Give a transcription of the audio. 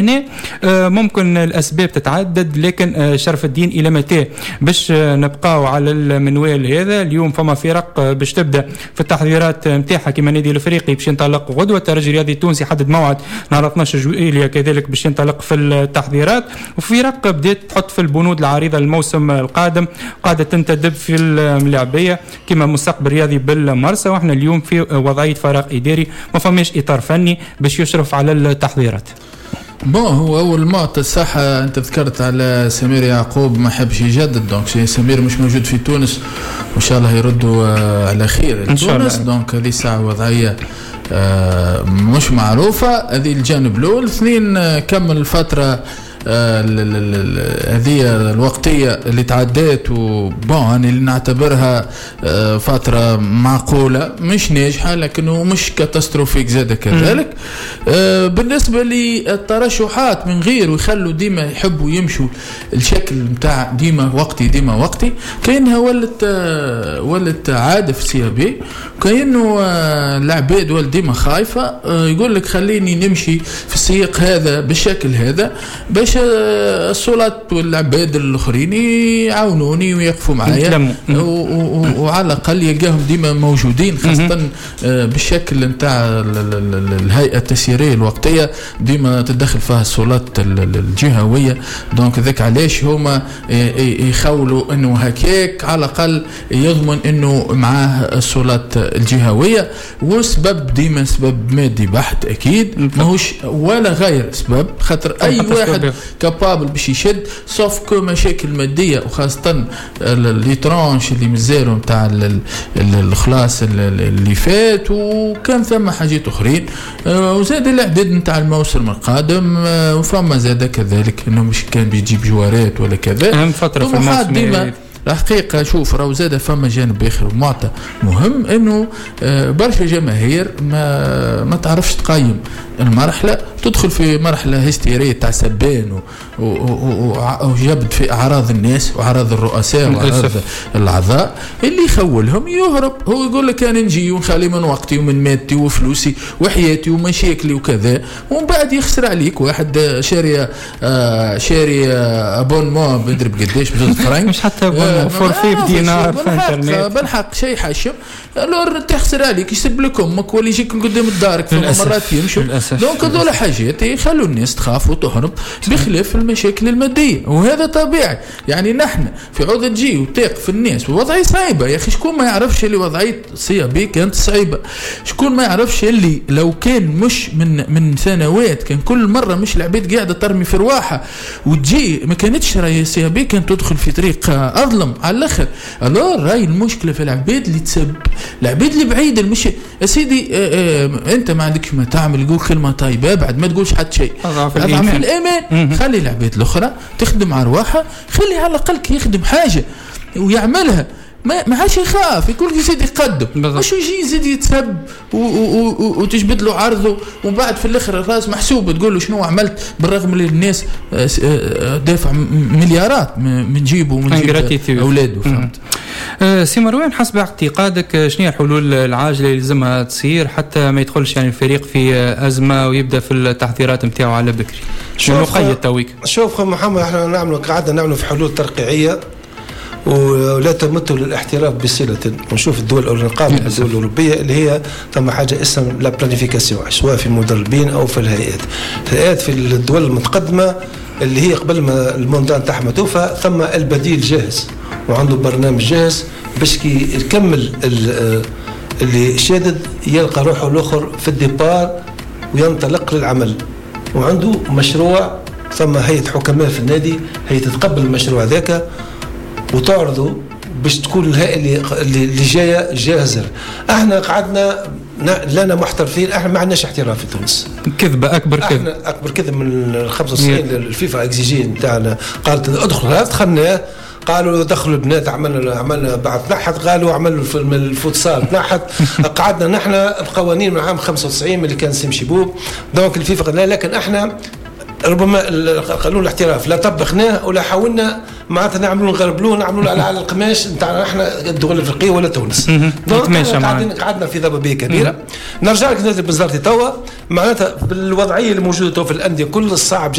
هنا ممكن الاسباب تتعدد، لكن شرف الدين، الى متى باش نبقاو على المنوال هذا؟ اليوم فما فرق باش تبدا في التحضيرات نتاعها، كما النادي الافريقي باش ينطلق غدوه، الترجي الرياضي التونسي حدد موعد نهار 12 جويليا كذلك باش ينطلق في التحضيرات، وفرق بدات تحط في البنود العريضة للموسم القادم، قاعدة تنتدب في الملاعبيه كما مستقبل الرياضي بالمرسى. واحنا اليوم في وضعية فراغ اداري، ما فماش اطار فني باش يشرف على التحضيرات. bon، هو اول معطى الصحة انت ذكرت على سمير يعقوب ما حبش يجدد، donc سمير مش موجود في تونس، وان شاء الله يردوا على خير إن شاء الله. تونس. donc هذه ساعة وضعية مش معروفة، هذه الجانب الأول. اثنين، كمل الفترة هذه الوقتية اللي تعدات و bon أنا اللي نعتبرها فترة معقولة، مش ناجحة لكنه مش catastrophique زاد كذلك. بالنسبة للترشحات من غير ويخلوا ديما يحبوا يمشوا الشكل نتاع ديما وقتي ديما وقتي، كأنها ولت عادة في CAB، كأنه العباد ولت ديما خايفة، يقول لك خليني نمشي في السياق هذا بالشكل هذا باش السلطات والعباد الاخرين يعاونوني ويقفوا معايا يتلموا. وعلى الاقل يلقاهم ديما موجودين، خاصة بالشكل نتاع الهيئة التسييريه الوقتية ديما تدخل فيها السلطات الجهويه. donc ذاك علاش هما يخولوا انه هكاك على الاقل يضمن انه معاه السلطات الجهويه. وسبب ديما سبب مادي بحت اكيد، ماهوش ولا غير سبب، خاطر اي حتى واحد سبب. capable باش يشد، sauf que مشاكل ماديه، وخاصة les tranches اللي مازالوا نتاع الخلاص اللي فات، وكان ثم حاجات اخرين، وزاد الاعداد نتاع الموسم القادم، وفما زاد كذلك انه مش كان بيجيب جوارات ولا كذا. اهم فترة في طموحات الموسم. ديما الحقيقة. شوف، راهو زاد فما جانب آخر معطى مهم، انه برشا جماهير ما تعرفش تقيم المرحلة، تدخل في مرحلة هستيرية تاع سبان وجبد في أعراض الناس وأعراض الرؤساء وأعراض الأعضاء اللي يخولهم يهرب. هو يقول لك أنا نجي ونخلي من وقتي ومن مادتي وفلوسي وحياتي ومشاكلي وكذا، ومن بعد يخسر عليك واحد شاري abonnement بيضرب قداش ب2 فرنك. مش حتى abonnement، forfait بدينار في انترنت. بالحق شيء حشم. alors تخسر عليك، يسب لك امك ولا يجيك قدام دارك، فما مرات يمشوا. donc هذول حاجات يخلوا الناس تخاف وتهرب، بخلاف المشاكل الماديه، وهذا طبيعي. يعني نحن في عوض تجي وتقف الناس ووضعية صعيبه، يا اخي شكون ما يعرفش اللي وضعية CAB كانت صعيبه؟ شكون ما يعرفش اللي لو كان مش من سنوات كان كل مرة مش العباد قاعدة ترمي في رواحها وتجي، ما كانتش راهي CAB كانت تدخل في طريق اظلم على الاخر. alors راهي المشكلة في العباد اللي تسب، العباد اللي بعيده. مش يا سيدي، انت ما عندكش ما تعمل، قول كلمة طيبه، بعد ما تقولش حتى شيء. اضعف اضعف الايمان. الايمان. خلي العباد الاخرى تخدم على رواحها، خلي على الاقل كي يخدم حاجة ويعملها ما عادش يخاف، يقول يزيد يقدم. مش يجي يزيد يتسب وتجبد له عرضه، ومن بعد في الاخر الراس محسوب، تقول له شنو عملت، بالرغم اللي الناس دافع مليارات من جيبه ومن جيب Ingratitude. اولاده، فهمت؟ سي مروان، حسب اعتقادك شنو هي الحلول العاجلة اللي لازمها تصير حتى ما يدخلش يعني الفريق في ازمة ويبدا في التحضيرات نتاعو على بكري؟ شنو قيد تويك؟ شوف محمد، احنا نعملوا قعدنا نعملوا في حلول ترقيعيه ولا تمت للاحتراف بصله. ونشوف الدول الأوروبية، الدول الاوروبية اللي هي ثم حاجة اسمها la planification، سواء في المدربين او في الهيئات. الهيئات في الدول المتقدمة اللي هي قبل ما ال mandat نتاعها ما توفى ثم البديل جاهز وعنده برنامج جاهز باش كي يكمل اللي شادد يلقى روحه الاخر في ال départ وينطلق للعمل وعنده مشروع. ثم هيئة حكماء في النادي هي تتقبل المشروع ذاك وتعرضه باش تكون الهيئة اللي جاية جاهزه. احنا قعدنا لنا محترفين، احنا ما عندناش احتراف في تونس. كذبه، اكبر كذب. احنا اكبر كذب من ال 95. الفيفا exigé نتاعنا قالت ادخل، دخلناه. قالوا دخلوا البنات، عملنا بعد تنحت. قالوا عملوا الفوتسال تنحت. قعدنا نحن بقوانين من عام 95 من اللي كان سليم شيبوب. donc الفيفا قال لا، لكن احنا ربما قانون الاحتراف لا طبقناه ولا حاولنا. معناتها نعملوا نغربلوه، نعملوا على القماش نتاعنا احنا الدول الافريقية ولا تونس. donc قعدنا في ضبابية كبيره. نرجع لك نادي بنزرتي توا، معناتها بالوضعيه الموجودة تو في الاندية كل، صعب.